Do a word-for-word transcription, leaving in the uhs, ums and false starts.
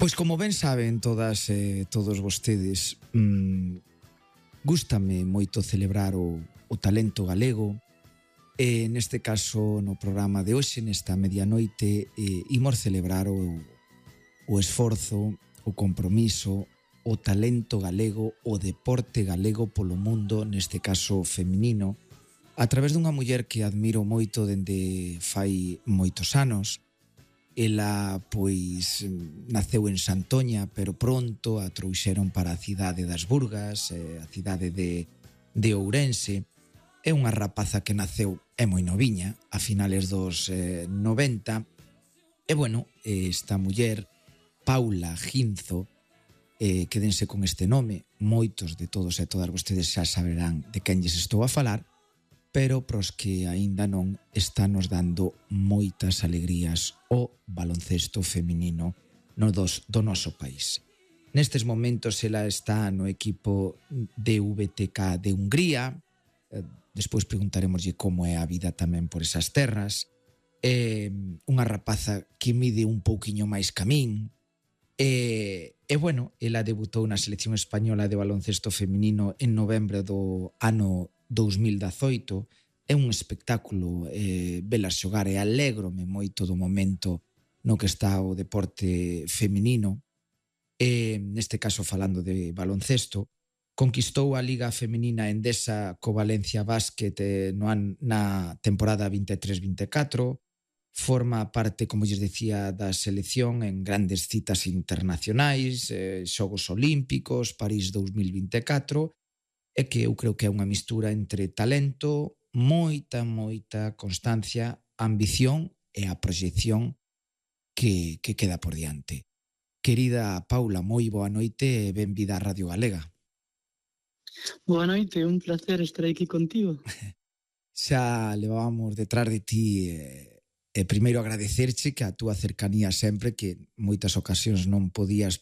Pois como ben saben todas e eh, todos vostedes, mmm, gústame moito celebrar o, o talento galego e neste caso no programa de hoxe, nesta medianoite, eh, imos celebrar o, o esforzo, o compromiso, o talento galego, o deporte galego polo mundo, neste caso feminino, a través dunha muller que admiro moito dende fai moitos anos. Ela, pois, naceu en Santoña, pero pronto a trouxeron para a cidade das Burgas, a cidade de, de Ourense. É unha rapaza que naceu, é moi noviña, a finales dos eh, noventa. E, bueno, esta muller, Paula Ginzo, eh, quédense con este nome, moitos de todos e todas vostedes xa saberán de quen lles estou a falar, pero pros que aínda non, estános dando moitas alegrías o baloncesto feminino no dos, do noso país. Nestes momentos ela está no equipo de V T K de Hungría, eh, despois preguntaremoslle como é a vida tamén por esas terras. É unha rapaza que mide un pouquiño máis ca min, e, e bueno, ela debutou na selección española de baloncesto feminino en novembro do ano dous mil dezaoito. É un espectáculo eh, velas xogar e alégrome moito do momento no que está o deporte feminino. E, neste caso falando de baloncesto, conquistou a Liga Feminina Endesa co Valencia Basket eh, no an, na temporada vinte e tres vinte e catro, forma parte, como lles decía, da selección en grandes citas internacionais, eh, Xogos Olímpicos, París dous mil vinte e catro, e que eu creo que é unha mistura entre talento, moita, moita constancia, ambición e a proxección que, que queda por diante. Querida Paula, moi boa noite e benvida á Radio Galega. Boa noite, un placer estar aquí contigo. Xa levábamos detrás de ti e, e primeiro agradecerche que a túa cercanía sempre, que moitas ocasións non podías, pero